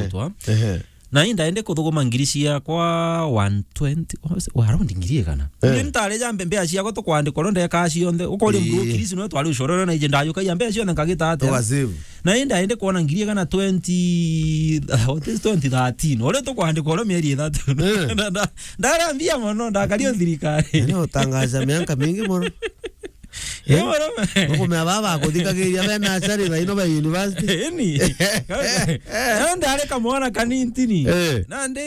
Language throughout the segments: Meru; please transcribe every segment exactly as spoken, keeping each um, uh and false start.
Gutwa. Ehe. Na indaende kuthuguma ngiri ciakwa one twenty, oh, around ngiri igana. Eh. Ngiri ntari ja mbe-, mbea ciakwa tukwandikwa ro ndeka cionthe. Ukori mbu Ii. Kirisi no twari ucoro na ije ndayukagia mbea cionthe nkagita atia? Uga save. Na indaende kuona ngiri igana twenty, what is twenty thirteen? Ore tukwandikwa ro mieri ithatu. Eh. Na, na, ndara mbia mono, ndakario thirikari. Ni utangaza miaka mingi mono. Ii, murome. Ukumea baba akuthikagiria be nursery thaino be university. Eni. Na ndari kamwana kanintini. Eh. Na ndi,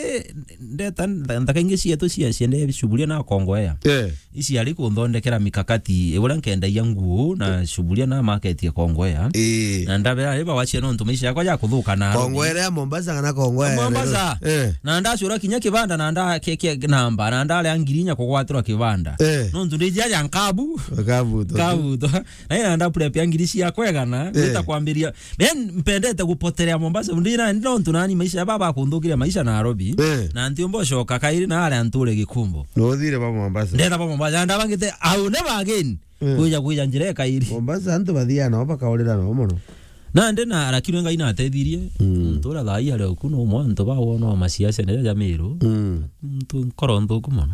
ndeta ntha-, nthaka ingi cietu cia, ciende cuburia na kongoea. Eh. Ici ari kunthondekera mikakati, uria nkendagia nguo na cuburia na market ya kongoea. Ii. Na ndabera, iba wachia nontu maisha yakwa ya kuthuka na Kongoea ya Mombasa kana Kongoea ya Mombasa. Nairobi? Eh. Na ndacura kinya kibanda na nda ke, ke namba, na ndarea ngiri inya kugwatirwa kibanda. Eh. Nontu ndi jia ya nkabu. Kabuto. Kabuto. Na ina nda prep ya ngiri cia kwegana, Eh. Nita kwambiria. Ben, mpendete gupotelea Mombasa. Ndi na, ndi nontu nani maisha ya baba akundhukiria maisha Nairobi. Eh. Na ntiumba ucoka kairi na aria nture Gikumbo. Nuthire ba Mombasa. Ndeta ba Mombasa. Ndabangite, I will never again. Eh. Kwija, kwija njira ikairi. Mombasa antu bathiaga nao bakaurira nao mono. Nandi na, lakini Ngai natethirie. Mm. Ntura thaa ii ari oku no mwantu bawona wa masiasa nere ja Meru. Mm. Ntu nkoro nthuku mono.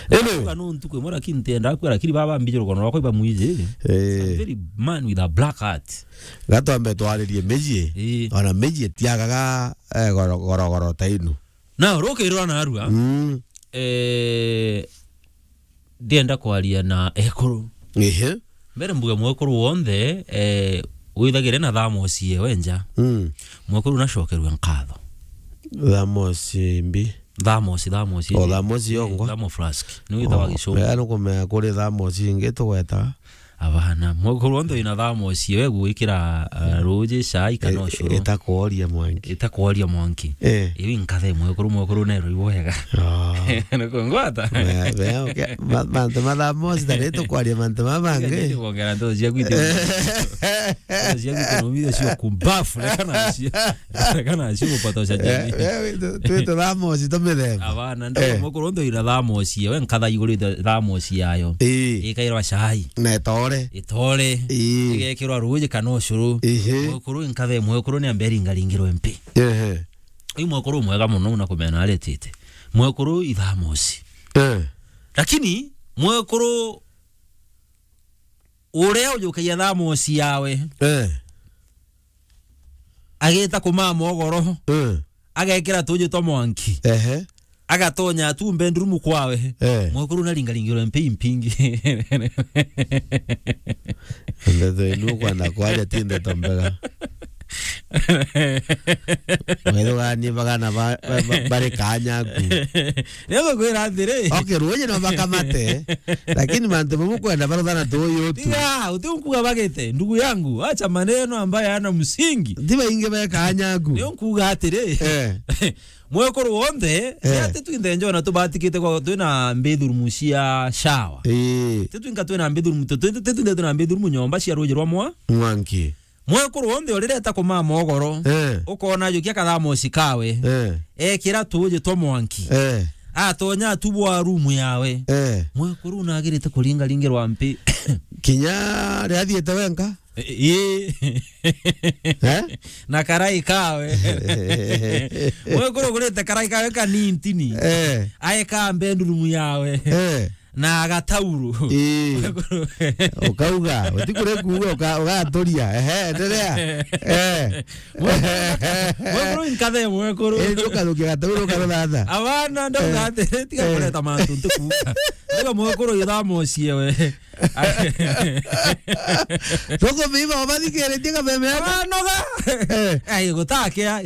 Ene. Kuga no ntuku imwe lakini ntienda kua, lakini baba mbije rukono rwakwa iba mwiji. Eh. I'm very man with a black heart. Gatwambe twaririe miji. Eh. Ona miji tiagaga, eh, goro, goro, goro ta inu. Na rukirwa na arua. Mm. Eh, ndienda kwaria na ekuru. Ehe. Mbere mbuge mwekuru wonthe, eh, withagire na thamosi ewe nja. Mm. Mwekuru nacokerwe nkatho. Thamosi mbi. Thamosi, thamosi. O thamosi yongwa? Thermo flask. Ni witagwa Gicungu. Aya nukumenya kuri thamosi ingi tugwetaga. Abana, mwekuru wonthe wina thamosi ewe gwikira, uh, ruji, cai kana ucuru. Itakworia mwanki. Itakworia mwanki. Eh. Iu inkathe mwekuru, mwekuru nero iwega. Oh. Nukungwata? Mantu ma thamosi tari tukwaria mantu mabangi. Ndio kuongera ndoto cia gwitu. Ndoto cia gwitu no mira cio kumbafu, kana cio. Kana cio kupata ucaji. Eh, eh, tu, tu thamosi tumithemba. Abana, ndo mwekuru wonthe wina thamosi ewe nkatha iguru thamosi yayo. Ii. Ikairwa cai. Na itore. Itore. Ii. Igekirwa ruji kana ucuru. Ihi. Mwekuru inkathe mwekuru ni amberi ngaringirwe mpi. Ehe. Uyu mwekuru mwega mono una kumena aretite. Mwekuru ithamosi. Eh. Lakini mwekuru uria ujukagia thamosi yawe. Eh. Agita kumaa mogoro. Eh. Agekira tuji twa mwanki. Ehe. Agatonya tu bedroom kwawe. Eh. Mwekuru naringaringirwe mpi mpingi. Ndeto inu kwenda kwaria ti ndeto mbega. Wethuganie bagana ba, ba, ba, bari kanyaku. Nigukwira atiri. Okay, ruuji no bakamate, lakini mantu mamu kwenda baruthana tuyu tu. Tiga, utinkuga bagite, ndugu yangu, acha maneno ambayo hayana msingi. Ti baingi be kanyaku. Nikuga atiri. Eh. Mwekuru wonthe, eh, ati twinthe njona tubatikite kwa twina bathroom cia shower. Ii. Ti twinka twina bathroom, tu, tu, tu, twinthe twina bathroom nyomba cia ruuji rwa mwa. Mwanki. Mwekuru wonthe urireta kumaa mogoro, eh, ukona ajukia kathamosi kawe, eh, ekira tuuji twa mwanki, eh, atonya atubwa room yawe. Eh. Mwekuru nagirite kuringaringirwa mpi. Kinya riria athiite wenka? Ii. Eh? Na karai kawe. Mwekuru ugurite karai kawe kanintini. Eh. Aeka bedroom yawe. Eh. Na gatauru. Ii. Ukauga, utikure kuuga, uka-, ugaturia. Ehe, endelea. Eh. Mwekuru inkathe mwekuru. Eh, ndio ukarukia gatauru ukaruthatha. Abana, ndauga, eh, atiri, tiga, eh, kureta mantu ntikuuga. Tiga mwekuru ithamosie we. Tukumiiba ubathikiritie kameme yako. Abanoga. Eh. Ai, gutakia,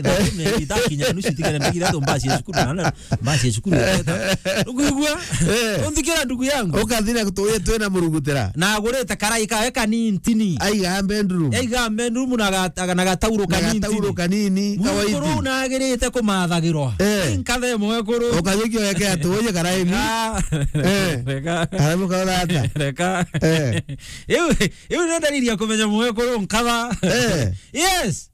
itakinya nusu itigere ndagire tu mbasi ya cukuru na Mbasi ya cukuru ya Teta. Ukuigua? Eh. Unthikira ndugu yangu. Ukathira tuye twina murugutira. Na agurite karai kawe kanintini. Aiga bedroom. Aiga bedroom na ga-, na gatauro kanintini. Na gatauro kanini, kawaiti. Mwekuru nagirite kumathagirwa. Eh. Inkathe mwekuru. Ukajukio weke atuye karaini. Ah. Eh. Reka. Arabu kaurata. Reka. Eh. Iu, iu ndio dalili ya kumenya mwekuru nkatha. Eh. Yes.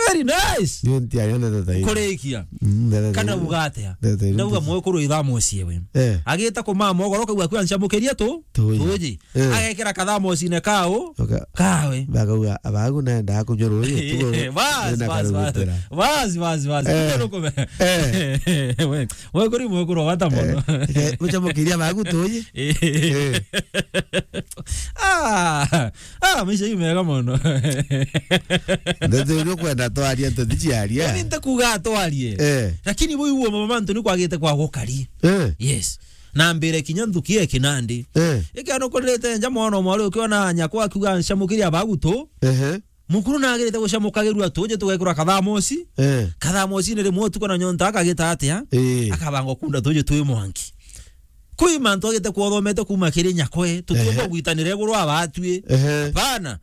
Very nice. Ndio ntiaria ndeto ta iyo. Kurikia. Mm, ndeto ta iyo. Kana uga atia? Ndeto ta iyo. Ndauga mwekuru ithamoci ewe. Eh. Agita kumama ogoro kau akua ncamukiria tu. Tuji. Tuji. Eh. Agekira kathamocine kao. Oka-, kawe. Bakauga, "Abagu naenda kunywa ruji, tugo." Bas, bas, bas. Bas, bas, bas. Eh. Kuja rukume. Eh. We, mwekuru, mwekuru wa bata mono. Eh. Eh, ucamukiria abagu tuji. Eh. Eh. Ah, ah, maisha yu mega mono. Ndeto iria ukwenda twarie, tutiaria. Mimi ntakuga twarie. Eh. Lakini bui uo mama mantu ni kwagite kwa gukari. Eh. Yes. Na mbere kinya nthuki e kinandi. Eh. Ikiano kurite nja mwana mwaru ukiona nyakwa akiuga ncamukiria abagu tu. Ehe. Mukuru nagirite gucamukagirua tuji tugekura kathamoci. Eh. Kathamoci ni rimwe utuku na nyonta akagita atia? Eh. Akabanga kunda tuji twi mwanki. Kwi mantu agite kuothomete kuma kiri nyakwe, tutiumba Ehe. gwitanira iguru abatwi. Ehe. Bana.